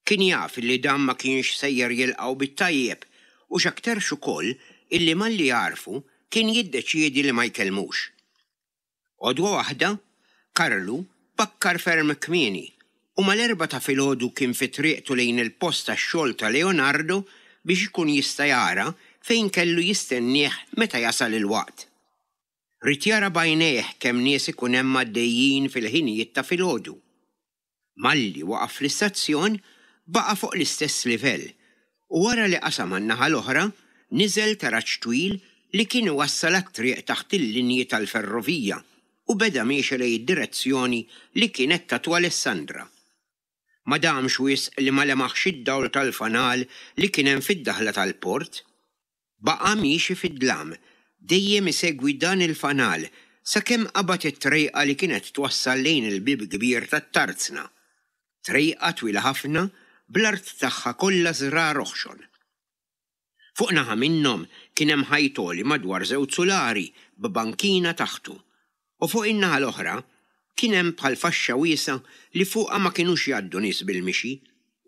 Kien jaf illi dan ma kienx sejjer jilqgħu bit-tajjeb u x'aktarx ukoll illi malli jagħrfu kien jiddeċiedi li ma jkellmux. Għodwa waħda, Karlu bakkar ferm kmieni u mal-erbgħa ta' filgħodu kien fi triqtu lejn il-post tax-xogħol ta' Leonardo biex ikun jista' jara fejn kellu jistennieh meta jasal il-waqt. Ried jara b'għajnejh kemm nies ikun hemm għaddejjin fil-ħinijiet ta' filgħodu. Malli waqaf fl-istazzjon, baqa' fuq l-istess livell u wara li qasam għan-naħa l-oħra, niżel taraġ twil li kien iwassal għat-triq taħt il-linji tal-ferrovija u beda miexi lejn id-direzzjoni li kienet tatu Alessandra. Ma damx wisq li ma lemaħx id-dawl tal-fanal li kien hemm fid-daħla tal-port. Baqa' miexi fid-dlam, dejjem isegwi dan il-fanal sakemm qabad it-trejqa li kienet twassal lejn il-bieb kbir tat-tarzna. Trejqa twila ħafna bl-art tagħha kollha żrar oħxon. Fuq naħa minnhom kien hemm ħajt għoli madwar żewġ sulari b'bankina taħtu u fuq in-naħa l-oħra kien hemm bħal faxxa wiesgħa li fuqha ma kinux jgħaddu nies bil-mixi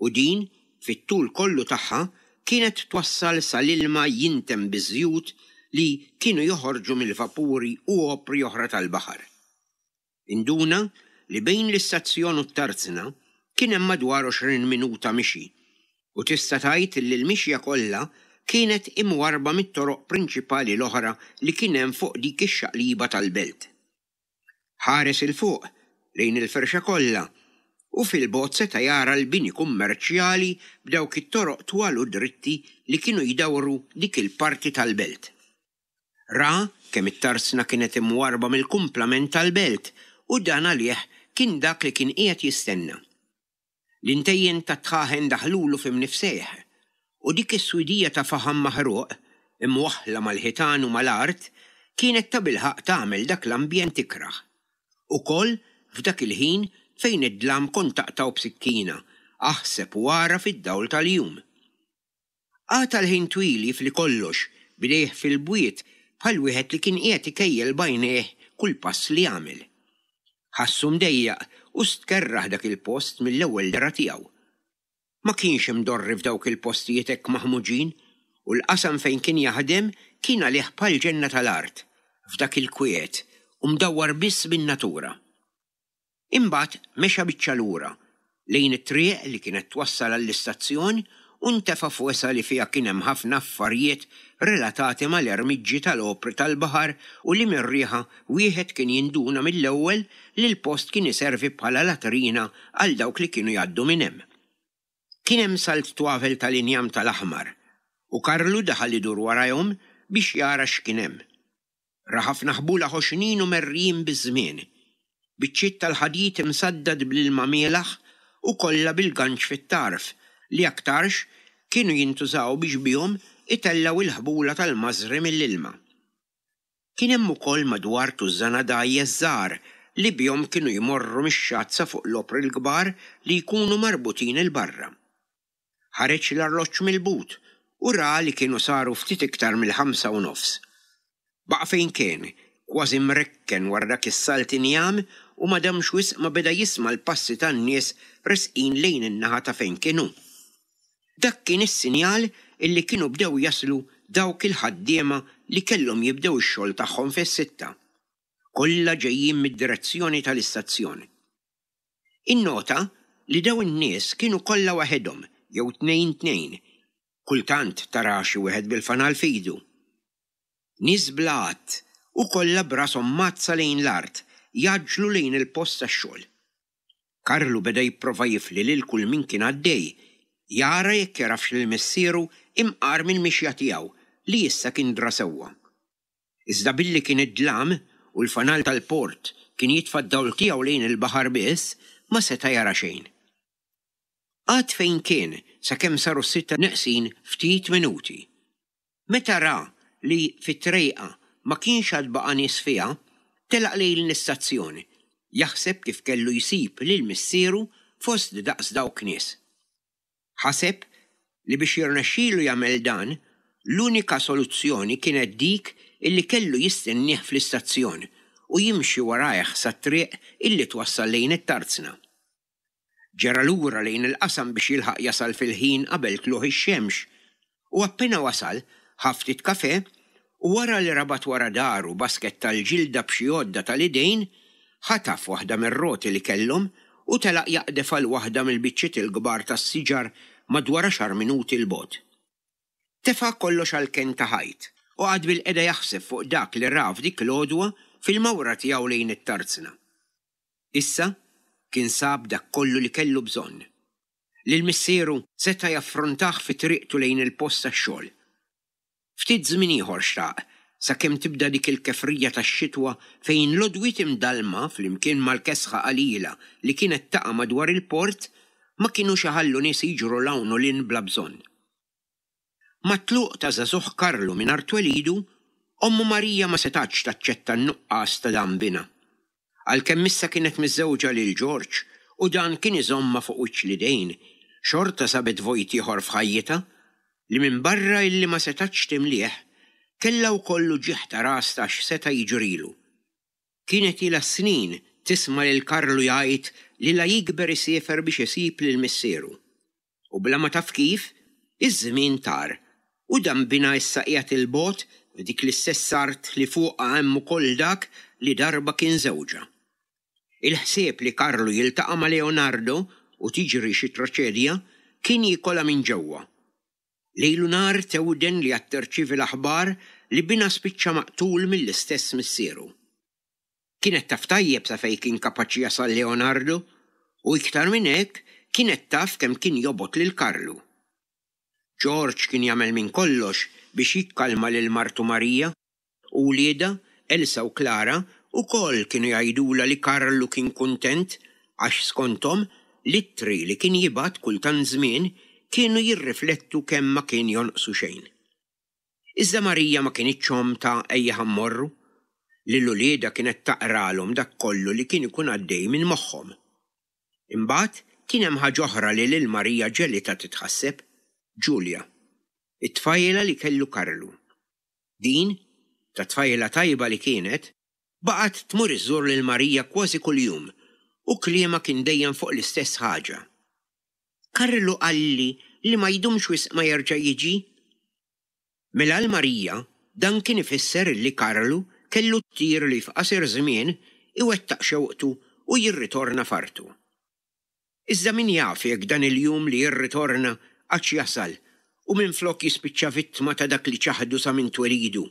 u din, fit-tul kollu tagħha, kienet twassal sa l-ilma jinten biż-żjut li kienu joħorġu mill-vapuri u opri oħra tal-baħar. Induna li bejn l-istazzjon u t-tarzna kien hemm madwar 20 minuta mixi u tista' tgħid li l-mixja kollha kienet imwarrba mit-toroq prinċipali l-oħra li kien hemm fuq dik ix-xaqliba tal-belt. Ħares 'il fuq, lejn il-firxa kollha, u fil-bogħod seta' jara l-bini kummerċjali b'dawk it-toroq twal u dritti li kienu jdawru dik il-parti tal-belt. Ra kemm it-tarzna kienet imwarrba mill-kumplament tal-belt u dan għalih kien dak li kien qiegħed jistenna. L-intejjen tat-dħaħen daħlulu fi mnifsejh, u dik is-swidija ta' faħam maħruq, imwaħħla mal-ħitan u mal-art, kienet tabilħaqq tagħmel dak l-ambjent ikrah. Ukoll f'dak il-ħin fejn id-dlam kont taqtgħu b'sikkina, aħseb u ara fid-dawl tal-jum. Qagħad għal ħin twil jifli kollox, b'idejh fil-bwiet, bħal wieħed li kien qiegħed ikejjel b'għajnejh kull pass li għamel. Ħassu mdejjaq u stkerrah dak il-post mill-ewwel dehra tiegħu. Ma kienx imdorri f'dawk il-postijiet hekk maħmuġin u l-qasam fejn kien jaħdem kien għalih bħal ġenna tal-art, f'dak il-kwiet u mdawwar biss bin-natura. Imbagħad mexa biċċa lura, lejn it-triq li kienet twassal għall-istazzjon u ntefa' f'wesgħa li fiha kien hemm ħafna affarjiet relatati mal-ermiġġi tal-opri tal-baħar u li mir-riħa wieħed kien jinduna mill-ewwel li l-post kien iservi bħala latrina għal dawk li kienu jgħaddu minn hemm. Kien hemm salt twavel tal-injam tal-aħmar u Karlu daħal idur warajhom biex jara x'kien hemm. Ra ħafna ħbula ħoxnin u merrijin biż-żmien, biċċiet tal-ħadid imsaddad bl-ilma mielaħ u kollha bil-ganċ fit-tarf li aktarx kienu jintużaw biex bihom itellgħu l-ħbula tal-mażri mill-ilma. Kien hemm ukoll madwar tużżana dgħajjes żgħar li bihom kienu jmorru mix-xatt sa fuq l-opri l-kbar li jkunu marbutin 'il barra. Ħareġ l-arloġġ mill-but u ra li kienu saru ftit iktar mill-ħamsa u nofs. Baqa' fejn kien, kważi mrekken wara dak is-salt injam u ma damx wisq ma beda jisma' l-passi tan-nies resqin lejn in-naħa ta' fejn kien hu. Dak kien is-sinjal illi kienu bdew jaslu dawk il-ħaddiema li kellhom jibdew ix-xogħol tagħhom fis-sitta. Kollha ġejjin mid-direzzjoni tal-istazzjon. Innota li dawn in-nies kienu kollha waħedhom jew tnejn tnejn, kultant tara xi wieħed bil-fanal f'idu. Nies bla għadd u kollha b'rashom mgħaddsa lejn l-art jgħaġġlu lejn il-post tax-xogħol. Karlu beda jipprova jifli lil kull min kien għaddej, jara jekk jagħrafx lil missieru imqar mill-mixja tiegħu li issa kien dra sewwa. Iżda billi kien id-dlam u l-fanal tal-port kien jitfa' d-dawl tiegħu lejn il-baħar biss, ma seta' jara xejn. Qagħad fejn kien sakemm saru s-sitta neqsin ftit minuti. Meta ra li fit-trejqa ma kienx għad baqa' nies fiha, telaq lejn l-istazzjon, jaħseb kif kellu jsib lil missieru fost daqs dawk nies. Ħaseb li biex jirnexxilu jagħmel dan, l-unika soluzzjoni kienet dik illi kellu jistennieh fl-istazzjon u jimxi warajh sat-triq illi twassal lejn it-tarzna. Ġera lura lejn il-qasam biex jilħaq jasal fil-ħin qabel tlugħ ix-xemx u appena wasal, ħa ftit kafè u wara li rabat wara daru basket tal-ġilda b'xi għodda tal-idejn, ħataf waħda mir-roti li kellhom u telaq jaqdef għal waħda mill-biċċiet il-kbar tas-siġar madwar għaxar minuti 'l bogħod. Tefa' kollox għall-kenn ta' ħajt u qagħad bilqiegħda jaħseb fuq dak li ra f'dik l-għodwa fil-mawra tiegħu lejn it-tarzna. Issa kien sab dak kollu li kellu bżonn. Lil missieru seta' jaffrontah fi triqtu lejn il-post tax-xogħol. Ftit żmien ieħor xtaq, sakemm tibda dik il-kefrija tax-xitwa fejn l-għodwiet imdallma flimkien mal-kesħa qalila li kienet taqa' madwar il-port ma kinux iħallu nies jiġru 'l hawn u 'l hinn bla bżonn. Mat-tluq ta' żagħżugħ Karlu minn art twelidu, ommu Marija ma setgħetx taċċetta n-nuqqas ta' dan binha. Għalkemm issa kienet miżżewġa lil Ġorġ u dan kien iżommha fuq wiċċ l-idejn, xorta sabet vojt ieħor f'ħajjitha, li minbarra illi ma setgħetx timlieh, kellha wkoll uġigħ ta' ras ta' x'seta' jiġrilu. Kienet ilha snin tisma' lil Karlu jgħid li la jikber isiefer biex isib lil missieru. U bla ma taf kif, iż-żmien tar, u dan binha issa qiegħed 'il bogħod f'dik l-istess art li fuqha hemm ukoll dak li darba kien żewġha. Il-ħsieb li Karlu jiltaqa' ma' Leonardo u tiġri xi traċedja kien jikolha minn ġewwa. Lejl u nhar tewden li għad tirċievi l-aħbar li binha spiċċa maqtul mill-istess missieru. Kienet taf tajjeb sa fejn kien kapaċi jasal Leonardo u iktar minn hekk kienet taf kemm kien jobgħod lil Karlu. George kien jagħmel minn kollox biex jikkalma lil martu Maria u wliedha, Elsa u Clara, ukoll kienu jgħidulha li Karlu kien kuntent għax skonthom l-ittri li kien jibgħat kull tant żmien kienu jirriflettu kemm ma kien jonqsu xejn. Iżda Marija ma kinitx omm ta' ejja ħa mmorru. Lil uliedha kienet taqralhom dak kollu li kien ikun għaddej minn moħħhom. Imbagħad kien hemm ħaġa oħra li lil Marija ġegħlitha titħasseb, Ġulja, it-tfajla li kellu Karlu. Din, ta' tfajla tajba li kienet, baqgħet tmur iżżur lil Marija kważi kuljum u kliemha kien dejjem fuq l-istess ħaġa. Karlu qalli li ma jdumx wisq ma jerġa' jiġi. Mela għal Marija dan kien ifisser illi Karlu kellu t-tir li f'qasir żmien iwettaq xewqtu u jirritorna f'artu. Iżda min jaf jekk dan il-jum li jirritorna għadx jasal u minflok jispiċċa vittma ta' dak li ċaħdu sa minn twelidu.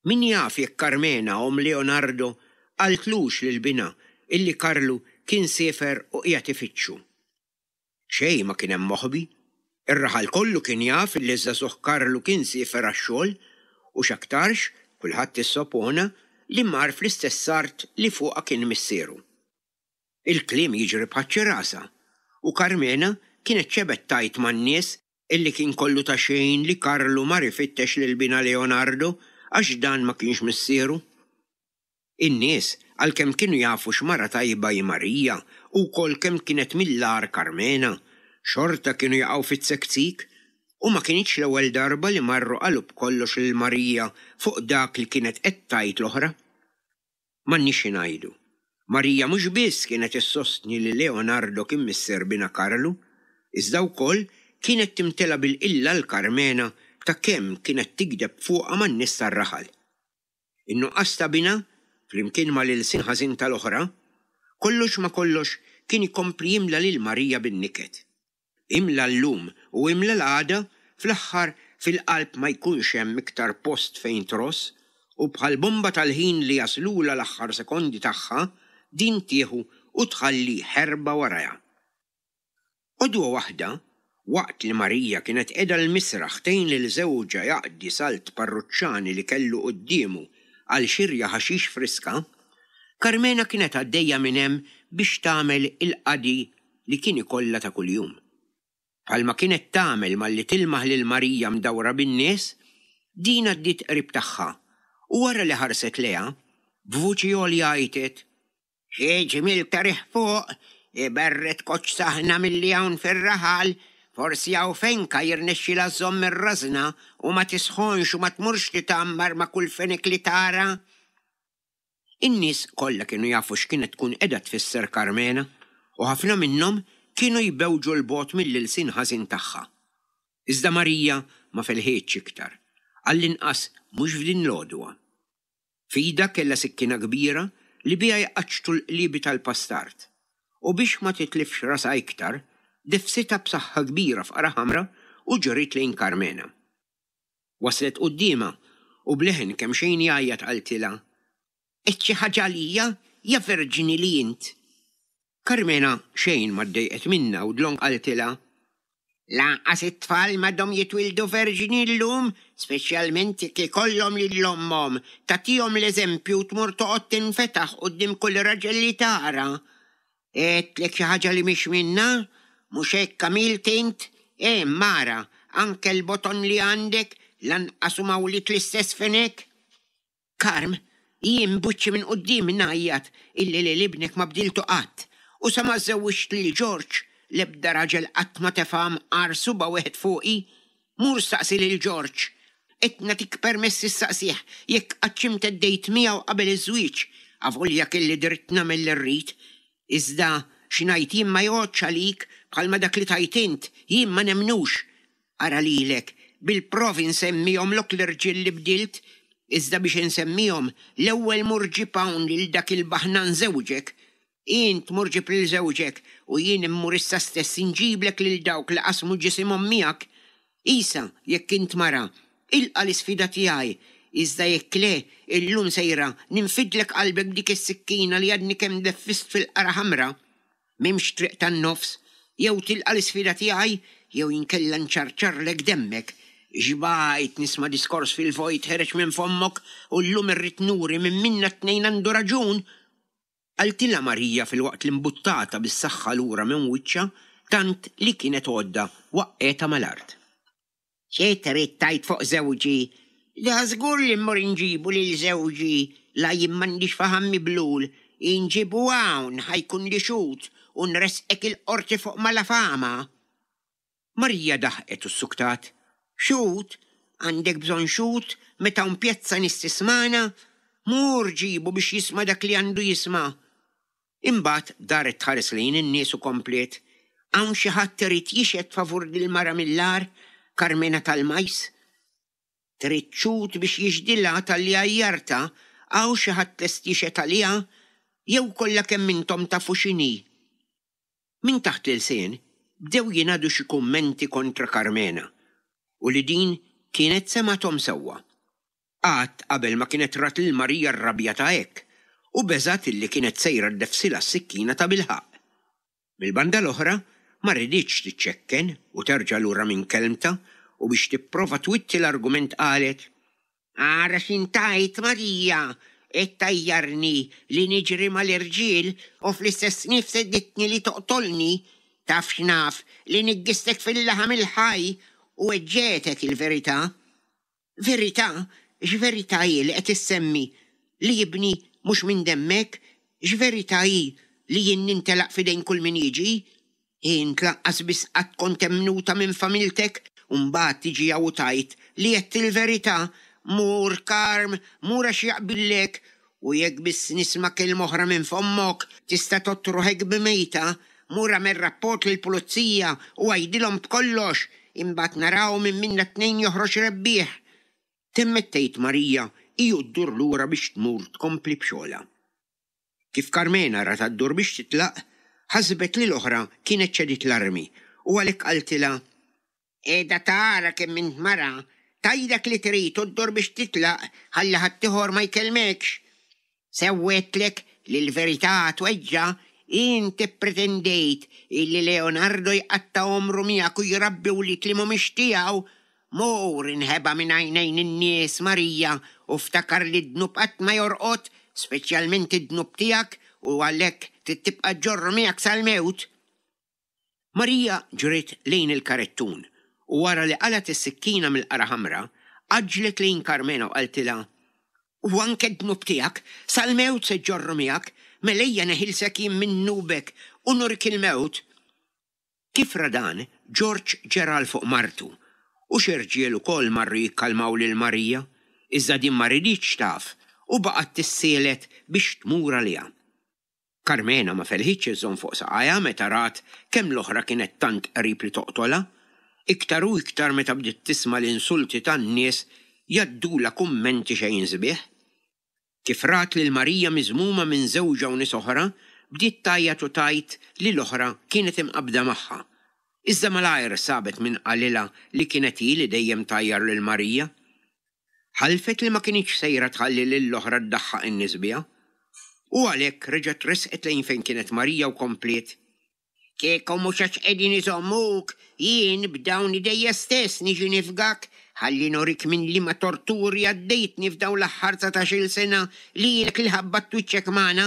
Min jaf jekk Karmena, omm Leonardo, qaltlux lil binha illi Karlu kien siefer u qiegħed ifittxu. Xejn ma kien hemm moħbi. Ir-raħal kollu kien jaf illi ż-żagħżugħ Karlu kien siefer għax-xogħol u x'aktarx, kulħadd issopona, li mar fl-istess art li fuqha kien missieru. Il-kliem jiġri bħaċ-ċirasa u Karmena kienet xebgħet tgħid man-nies illi kien kollu ta' xejn li Karlu mar ifittex lil binha Leonardo għax dan ma kienx missieru. In-nies, għalkemm kienu jafu x'mara tajba hi Marija u wkoll kemm kienet mill-agħar Karmena, xorta kienu jaqgħu fit-tsektsik u ma kinitx l-ewwel darba li marru qalu b'kollox lil Marija fuq dak li kienet qed tgħid l-oħra. M'għandniex xi ngħidu. Marija mhux biss kienet issostni li Leonardo kien missier binha Karlu, iżda wkoll kienet timtela bil-qilla għal Karmena ta' kemm kienet tigdeb fuqha man-nies tar-raħal. In-nuqqas ta' binha, flimkien mal-ilsien ħażin tal-oħra, kollox ma' kollox kien ikompli jimla lil Marija bin-niket. Imla llum u imla l-għada, fl-aħħar fil-qalb ma jkunx hemm iktar post fejn tross u bħal bomba tal-ħin li jaslulha l-aħħar sekondi tagħha, din tieħu u tħalli ħerba warajha. Għodwa waħda, waqt li Marija kienet qiegħda l-misraħ tgħin lil żewġha jaqdi salt parruċċani li kellu quddiemu għal xirja ħaxix friska, Karmena kienet għaddejja minn hemm biex tagħmel il-qadi li kien ikollha ta' kuljum. Bħalma kienet tagħmel malli tilmaħ lil Marija mdawra bin-nies, din għaddiet qrib tagħha u wara li ħarset lejha, b'vuċi għolja għajtet, Xi ġmiel ta' riħ fuq, iberred koċċ saħna milli hawn fir-raħal, forsi hawn fenka jirnexxilha żżomm ir-rażna u ma tisħonx u ma tmurx titgħammar ma' kull fenek li tara. In-nies kollha kienu jafu x'kienet tkun qiegħda tfisser Karmena. u ħafna minnhom kienu jbewġu 'l bogħod mill-ilsien ħażin tagħha. Iżda Marija ma felħitx iktar, għall-inqas mhux f'din l-għodwa. F'idha kellha sikkina kbira li biha jqaċċtu l-qliebi tal-pastard, u biex ma titlifx rasha iktar, deffsitha b'saħħa kbira f'qara ħamra u ġriet lejn Karmena. Waslet quddiemha u b'leħen kemxejn jgħajjat qaltilha, Għedt xi ħaġa għalija, ja verġni li int? Karmena xejn ma ddejqet minnha u dlonk qaltilha, Lanqas it-tfal m'għadhom jitwieldu verġni llum, speċjalment jekk ikollhom lil ommhom tagħtihom l-eżempju u tmur toqgħod tinfetaħ quddiem kull raġel li tara. Għedtlek xi ħaġa li mhix minnha? Mhux hekk għamilt int? Hemm, ara, anke l-boton li għandek lanqas huma wlied l-istess fenek. Karm, jien b'wiċċi minn quddiem ngħajjat illi lil ibnek ma bdiltu qatt, u sa ma żżewwiġt lil Ġorġ, l-ebda raġel qatt ma tefa' mqar subgħa wieħed fuqi. Mur staqsi lil Ġorġ. Qed nagħtik permess issaqsih jekk qattx imteddejt miegħu qabel iż-żwieġ, avolja kelli dritt nagħmel li rrid. Iżda xi ngħid jien ma jgħoddx għalik bħalma dak li tgħid int jien ma nemmnux. Ara lilek, bil-provi nsemmihomlok l-irġiel li bdilt, iżda biex insemmihom, l-ewwel mur ġib hawn lil dak il-baħnan żewġek. Int mur ġib lil żewġek u jien immur issa stess inġiblek lil dawk li qasmu ġisimhom miegħek. Isa, jekk int mara, ilqa' l-isfida tiegħi, iżda jekk le, illum sejra ninfidlek qalbek b'dik is-sikkina li għadni kemm deffist fil-qara ħamra. M'hemmx triq tan-nofs, jew tilqa' l-isfida tiegħi jew inkella nċarċarlek demmek. Xbajt nisma' diskors fil-vojt ħereġ minn fommok u llum irrid nuri min minna t-tnejn għandu raġun! Qaltilha Marija filwaqt li mbuttatha bis-saħħa lura minn wiċċha tant li kienet għodda waqqgħetha mal-art. Xi trid tgħid fuq żewġi? Dażgur li mmur inġibu lil żewġi, la jien m'għandix faħam miblul, inġibu hawn ħa jkunli xhud u nressqek il-qorti fuq malafama. Marija daħqet u ssuktat. Xhud? Għandek bżonn xhud meta hawn pjazza nies tismagħna? Mur ġibu biex jisma' dak li għandu jisma'. Imbagħad daret tħares lejn in-nies u kompliet, Hawn xi ħadd irid jixhed favur dil-mara mill-agħar, Karmena tal-Majs? Trid xhud biex jixhdilha talli għajjartha, hawn xi ħadd lest jixhed għaliha? Jew kollha kemm intom tafu x'inhi? Minn taħt l-ilsien bdew jingħadu xi kummenti kontra Karmena u li din kienet semgħethom sewwa. Qatt qabel ma kienet rat lil Marija rrabjata hekk, u beżgħet illi kienet sejra ddeffsilha s-sikkina tabilħaqq. Mill-banda l-oħra, ma riditx tiċċekken u terġa' lura minn kelmtha u biex tipprova twitti l-argument qalet, Ara x'int tgħid, Marija! Qed tgħajjarni li niġri mal-irġiel u fl-istess nifs għeditni li toqtolni. Taf x'naf, li niggistek fil-laħam il-ħaj u weġġgħetek il-verità. Verità? X'verità hi li qed issemmi? Li ibni mhux minn demmek? X'verità hi li jien nintelaq f'idejn kull min jiġi? Int lanqas biss qatt kont emmnuta minn familtek u mbagħad tiġi hawn u tgħid li għedt il-verità? Mur, Karm, mur għax jaqbillek! U jekk biss nisma' kelma oħra minn fommok, tista' tgħodd ruħek b'mejta. Mur agħmel rapport lill-pulizija u għidilhom b'kollox, imbagħad naraw min minna t-tnejn joħroġ rebbieħ. Temmet tgħid Marija hi u ddur lura biex tmur tkompli b'xogħolha. Kif Karmena ratha ddur biex titlaq, ħasbet li l-oħra kienet ċediet l-armi u għalhekk qaltilha, Qiegħda tara kemm int mara, tgħid dak li trid u ddur biex titlaq ħalli ħaddieħor ma jkellmekx. Sew għedtlek li l-verità tweġġa', int ippretendejt illi Leonardo jqatta' għomru miegħek u jrabbi wlied li mhumiex tiegħu. Mur inħeba minn għajnejn in-nies, Marija, u ftakar li d-dnub qatt ma jorqod, speċjalment id-dnub tiegħek u għalhekk trid tibqa' ġġorru miegħek sal-mewt. Marija ġriet lejn il-karettun u wara li qalgħet is-sikkina mill-qara ħamra, għaġġlet lejn Karmena u qaltilha, U anke d-dnub tiegħek, sal-mewt se ġġorru miegħek, mela ejja neħilsek jien minn dnubek u nurik il-mewt. Kif ra dan, Ġorġ ġera għal fuq martu, u xi rġiel ukoll marru jikkalmaw lil Marija, iżda din ma riditx taf u baqgħet tissielet biex tmur għaliha. Karmena ma felħitx iżżomm fuq saqajha meta rat kemm l-oħra kienet tant qrib li toqtolha, iktar u iktar meta bdiet tisma' l-insulti tan-nies jgħaddulha kummenti xejn sbieħ. Kif rat lil Marija miżmuma minn żewġha u nies oħra, bdiet tgħajjat u tgħid li l-oħra kienet imqabbda magħha. Iżda malajr sabet min qalilha li kienet hi li dejjem tgħajjar lil Marija. Ħalfet li ma kinitx sejra tħalli lill-oħra ddaħħaq in-nies biha. U għalhekk reġgħet resqet lejn fejn kienet Marija u kompliet, Kieku mhux għax qegħdin iżommuk, jien b'dawn idejja stess niġi nifgak, ħalli nurik minn liema torturi għaddejtni f'dawn l-aħħar dsatax-il sena li ilek li ħabbatt wiċċek magħna.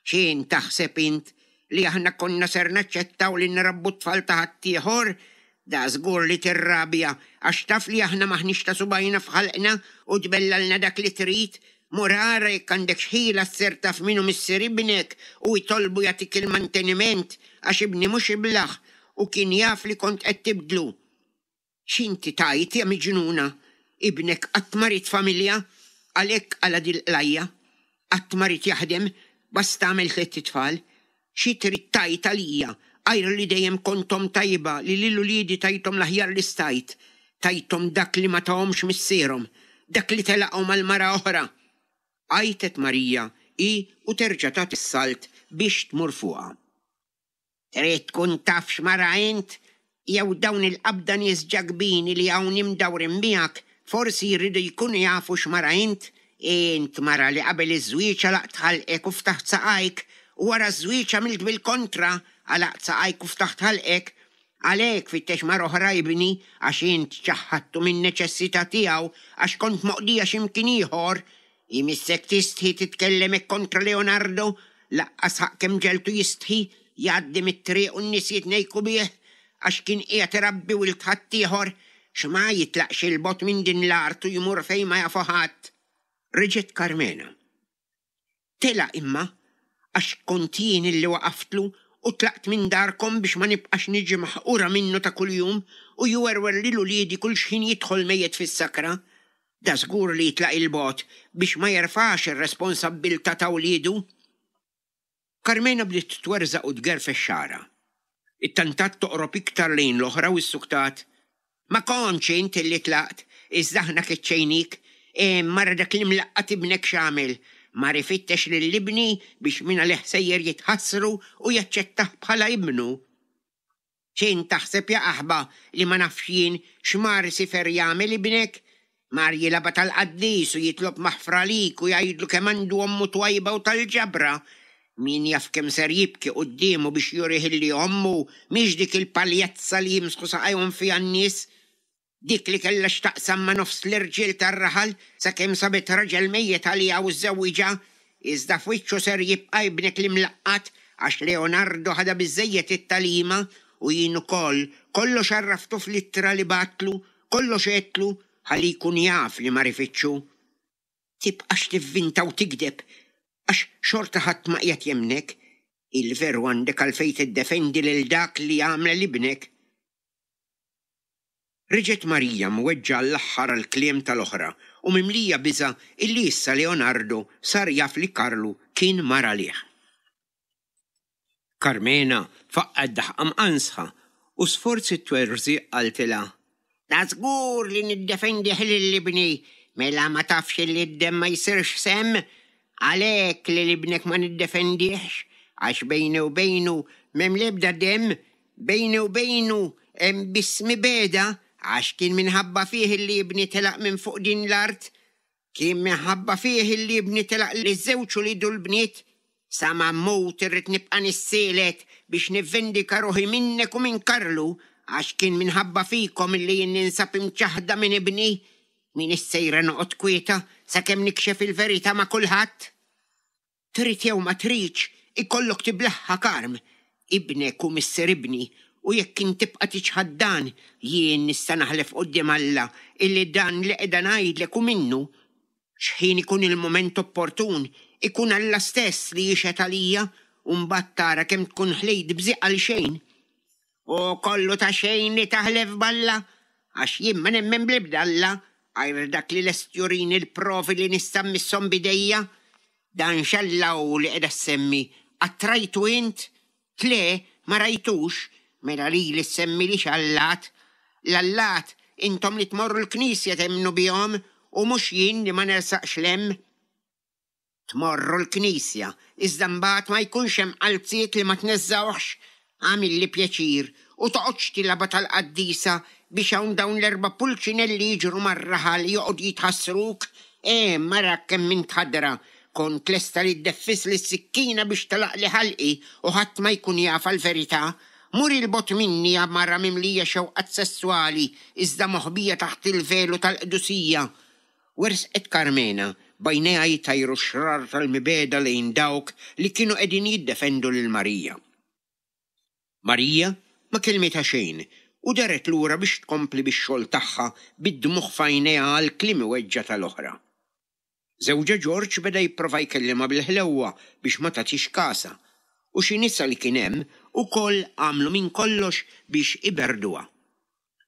X'int taħseb int, li aħna konna ser naċċettaw li nrabbu t-tfal ta' ħaddieħor? Dażgur li tirrabja għax taf li aħna m'aħniex ta' subgħajna f'ħalqna u tbellalna dak li trid. Mur ara jekk għandekx ħila ssir taf min hu missier ibnek u itolbu jagħtik il-manteniment għax ibni mhux iblah u kien jaf li kont qed tibdlu. X'inti tgħid, ja miġnuna? Ibnek qatt ma ried familja, għalhekk qala' dil-qlajja. Qatt ma ried jaħdem, basta għamel tlett itfal. Xi trid tgħid għalija, għajr li dejjem kont omm tajba li lil uliedi tajthom l-aħjar li stajt, tajthom dak li ma tahomx missierhom, dak li telaqhom għal mara oħra? Għajtet Marija hi u terġa' tagħti s-salt biex tmur fuqha. Trid tkun taf x'mara int? Jew dawn il-qabda nies ġakbini li hawn imdawrin miegħek forsi jridu jkunu jafu x'mara int? Int mara li qabel iż-żwieġ għalaqt ħalqek u ftaħt saqajk u wara ż-żwieġ għamilt bil-kontra, għalaqt saqajk u ftaħt ħalqek. Għalhekk fittex mara oħra ibni, għax int ċaħħadtu min-neċessità tiegħu għax kont moqdija xi mkien ieħor. Imissek tistħi titkellem hekk kontra Leonardo, laqqas ħaqq kemm ġegħeltu jistħi, jgħaddi mit-triq u n-nies jitnejku bih għax kien qiegħed irabbi wild ħaddieħor, x'ma jitlaqx 'il bogħod minn din l-art u jmur fejn ma jafu ħadd. Reġgħet Karmena. Telaq imma, għax kont jien illi waqaftlu u tlaqt minn darkom biex ma nibqax niġi maħqura minnu ta' kuljum u jwerwer lil uliedi kull xħin jidħol mejjet fis-sakra. Dażgur li jitlaq 'il bogħod biex ma jerfax ir-responsabbiltà ta' wliedu. Karmena bdiet twerżaq u tgerfex xagħarha. Ittantat toqrob iktar lejn l-oħra u ssuktat, Ma kontx int illi tlaqt, iżda aħna keċċejnik. Hemm ara dak l-imlaqqat ibnek x'għamel. Mar ifittex lil ibni biex mingħalih sejjer jitħassru u jaċċettah bħala ibnu. X'int taħseb ja qaħba li ma nafx jien x'mar isifer jagħmel ibnek? Mar jilgħabha tal-qaddis u jitlob maħfra għalik u jgħidlu kemm għandu ommu twajba u tal-ġabra. Min jaf kemm ser jibki quddiemu biex jurih illi ommu mhix dik il-paljazza li jimsħu saqajhom fiha n-nies. Dik li kellha x'taqsam ma' nofs l-irġiel tar-raħal sakemm sabet raġel mejjet għaliha u żżewwiġha. Iżda f'wiċċu ser jibqa' ibnek l-imlaqqat għax Leonardo ħadha biżżejjed it-tagħlima u jien ukoll kollox għarraftu fl-ittra li bgħattlu, kollox għedtlu ħalli jkun jaf li mar ifittxu. Tibqax tivvinta u tigdeb għax xorta ħadd ma qiegħed jemmnek. Il-veru għandek għalfejn tiddefendi lil dak li għamel ibnek. Reġgħet Marija mweġġgħa għall-aħħar għall-kliem tal-oħra u mimlija biża' illi issa Leonardo sar jaf li Karlu kien mar għalih. Karmena faqqgħet daħqa mqanżħa u sforz it-twerżiq qaltilha. Ta' żgur li niddefendih lil ibni! Mela ma tafx illi d-demm ma jsirx semm? Għalhekk lil ibnek ma niddefendihx, għax bejni u bejnu m'hemm l-ebda demm, Bejni u bejnu hemm biss mibegħda, għax kien minħabba fih illi ibni telaq minn fuq din l-art. Kien minħabba fih illi ibni telaq liż-żewġ uliedu l-bniet. Sa ma mmut irrid nibqa' nissielet biex nivvindika ruħi minnek u minn Karlu, għax kien minħabba fikom illi jien ninsab imċaħħda minn ibni. M'iniex sejra noqgħod kwieta sakemm nikxef il-verità ma' kulħadd. Trid jew ma tridx, ikollok tiblagħha Karm. Ibnek hu missier ibni, u jekk int tibqa' tiċħad dan, jien nista' naħlef quddiem Alla illi dan li qiegħda ngħidlek hu minnu. X'ħin ikun il-mument opportun, ikun Alla stess li jixhed għalija, u mbagħad tara kemm tkun ħlejt bżieq għalxejn. Hu kollu ta' xejn li taħlef b'Alla, għax jien ma nemmen bl-ebda Alla għajr dak li lest jurini l-provi li nista' mmisshom b'idejja. Dan x'Alla hu li qiegħda ssemmi? Qatt rajtu int? Le, ma rajtux, mela lili ssemmilix allat. L-allat intom li tmorru l-knisja temmnu bihom u mhux jien li ma nersaqx 'l hemm. Tmorru l-knisja, iżda mbagħad ma jkunx hemm qalziet li ma tneżżgħuhx. Agħmilli pjaċir u toqgħodx tilgħabha tal-qaddisa biex hawn dawn l-erba' pulċinelli jiġru mar-raħal joqogħdu jitħassruk. Eh, mara kemm int ħadra! Kont lesta li ddeffisli s-sikkina biex tagħlaqli ħalqi u ħadd ma jkun jafha l-verità. Mur 'il bogħod minni ja mara mimlija xewqat sesswali iżda moħbija taħt il-velu tal-qdusija. Wersqet Karmena, b'għajnejha jtajru x-xrar tal-mibegħda lejn dawk li kienu qegħdin jiddefendu lil Marija. Marija ma kellmitha xejn u daret lura biex tkompli bix-xogħol tagħha bid-dmugħ f'għajnejha għall-kliem iweġġa' tal-oħra. Żewġha Ġorġ beda jipprova jkellimha bil-ħlewwa biex ma tagħtix kasha u xi nisa li kien hemm ukoll għamlu minn kollox biex iberrduha.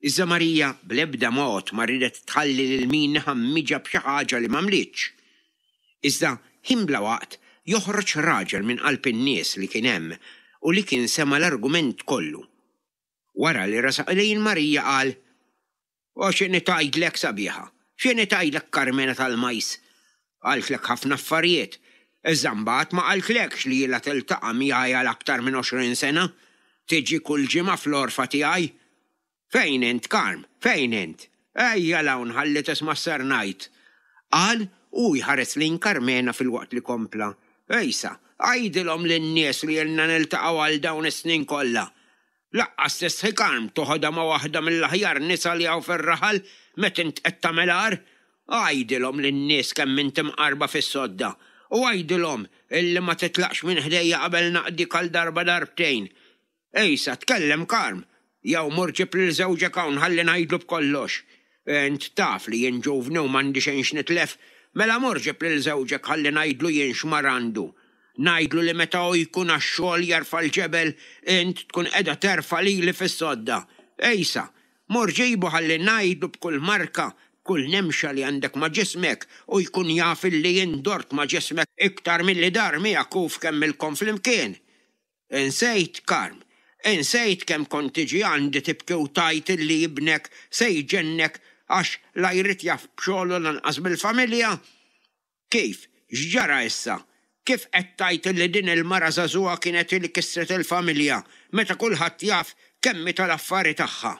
Iżda Marija bl-ebda mod ma riedet tħalli lil min iħammiġha b'xi ħaġa li m'għamlitx. Iżda ħin bla waqt joħroġ raġel minn qalb in-nies li kien hemm u li kien sema' l-argument kollu. Wara li resaq lejn Marija qal, O x'inhi tgħidlek sabiħa, x'inhi tgħidlek Karmena tal-Majs? Qaltlek ħafna affarijiet, iżda mbagħad ma qaltlekx li ilha tiltaqa' miegħi għal aktar minn 20 sena, tiġi kull ġimgħa fl-għorfa tiegħi. Fejn int, Karm, fejn int? Ejja 'l hawn ħalli tisma' x'ser ngħid! Qal u hu jħares lejn Karmena filwaqt li kompla, Ejsa, għidilhom lin-nies li ilna niltaqgħu għal dawn is-snin kollha. Laqqas tistħi Karm toħodha ma' waħda mill-aħjar nisa li hawn fir-raħal meta int qed tagħmel agħar? Għidilhom lin-nies kemm int imqarba fis-sodda u għidilhom illi ma titlaqx minn ħdejja qabel naqdik għal darba darbtejn. Ejsa, tkellem Karm, jew mur ġib lil żewġek hawn ħalli ngħidlu b'kollox. Int taf li jien ġuvni u m'għandi xejn x'nitlef, mela mur ġib lil żewġek ħalli ngħidlu jien x'mar għandu. Ngħidlu li meta hu jkun għax-xogħol jerfa' l-ġebel, int tkun qiegħda terfa' lili fis-sodda. Ejsa, mur ġibu ħalli ngħidlu b'kull marka, b'kull nemxa li għandek ma' ġismek u jkun jaf illi jien dort ma' ġismek iktar milli dar miegħek hu f'kemm ilkom flimkien. Insejt, Karm, insejt kemm kont tiġi għandi tibki u tgħid illi ibnek se jġennek għax la jrid jaf b'xogħlu lanqas bil-familja? Kif, x'ġara issa? Kif qed tgħid illi din il-mara żagħżugħa kienet hi li kissret il-familja meta kulħadd jaf kemm hi tal-affari tagħha?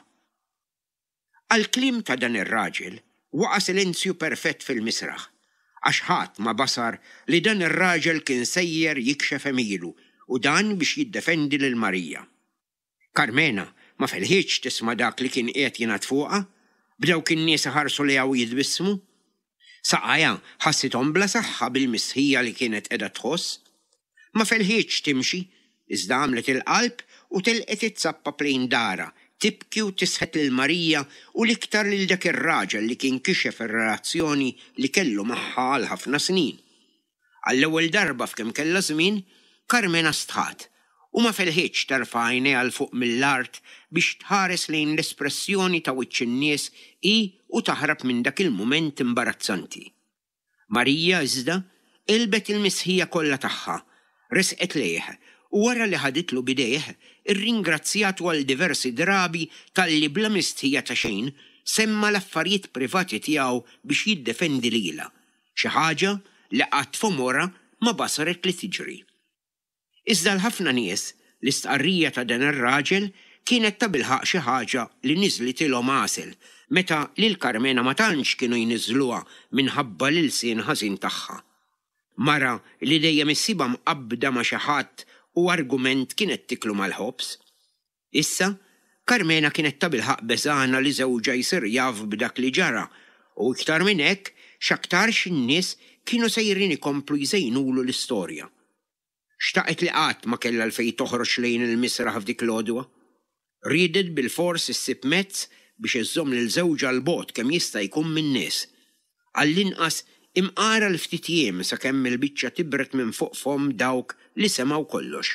Għall-kliem ta' dan ir-raġel, waqa' silenzju perfett fil-misraħ, għax ħadd ma basar li dan ir-raġel kien sejjer jikxef għemilu u dan biex jiddefendi lil Marija. Karmena ma felħitx tisma' dak li kien qiegħed jingħad fuqha, b'dawk in-nies iħarsu lejha u jitbissmu. Saqajha ħassithom bla saħħa bil-mistħija li kienet qiegħda tħoss. Ma felħitx timxi, iżda għamlet il-qalb u telqet it-zappap lejn darha, tibki u tisħet lil Marija u l-iktar lil dak ir-raġel li kien kixef ir-relazzjoni li kellu magħha għal ħafna snin. Għall-ewwel darba f'kemm kellha żmien, Karmena stħat u ma felħitx terfa' għajnejha 'l fuq mill-art biex tħares lejn l-espressjoni ta' wiċċ in-nies hi u taħrab minn dak il-mument imbarazzanti. Marija, iżda, għelbet il-mistħija kollha tagħha, resqet lejh u wara li ħaditlu b'idejh, irringrazzjatu għal diversi drabi talli bla mistħija ta' xejn semma l-affarijiet privati tiegħu biex jiddefendi lilha. Xi ħaġa li qatt f'għomorha ma basret li tiġri. Iżda għal ħafna nies, l-istqarrija ta' dan ir-raġel kienet tabilħaqq xi ħaġa li niżlitilhom għasel, meta lil Karmena ma tantx kienu jniżżluha minħabba l-ilsien ħażin tagħha. Mara li dejjem issibha mqabbda ma' xi ħadd u argument kienet tiklu mal-ħobż. Issa, Karmena kienet tabilħaqq beżgħana li żewġha jsir jaf b'dak li ġara, u iktar minn hekk, x'aktarx in-nies kienu sejrin ikomplu jżejnulu l-istorja. Xtaqet li qatt ma kellha għalfejn toħroġ lejn il-misraħ f'dik l-għodwa. Riedet bilfors issib mezz biex iżżomm lil żewġha 'l bogħod kemm jista' jkun min-nies. Għall-inqas imqar għal ftit jiem sakemm il-biċċa tibred minn fuq fomm dawk li semgħu kollox.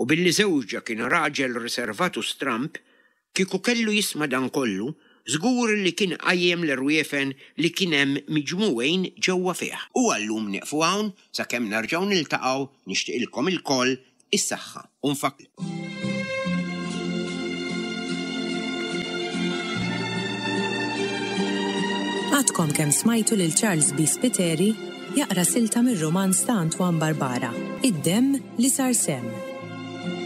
U billi żewġha kien raġel riservat u stramb, kieku kellu jisma' dan kollu, Żgur li kien qajjem l-irwiefen li kien hemm miġmugħin ġewwa fih. U għal-lum nieqfu hawn sakemm nerġgħu niltaqgħu nixtieqilkom ilkoll is-saħħa u nfakk. Għadkom kemm smajtu lil Charles B. Spiteri jaqra silta mir-rumanz ta' Antoine Barbara, Id-Demm li Sar Semm.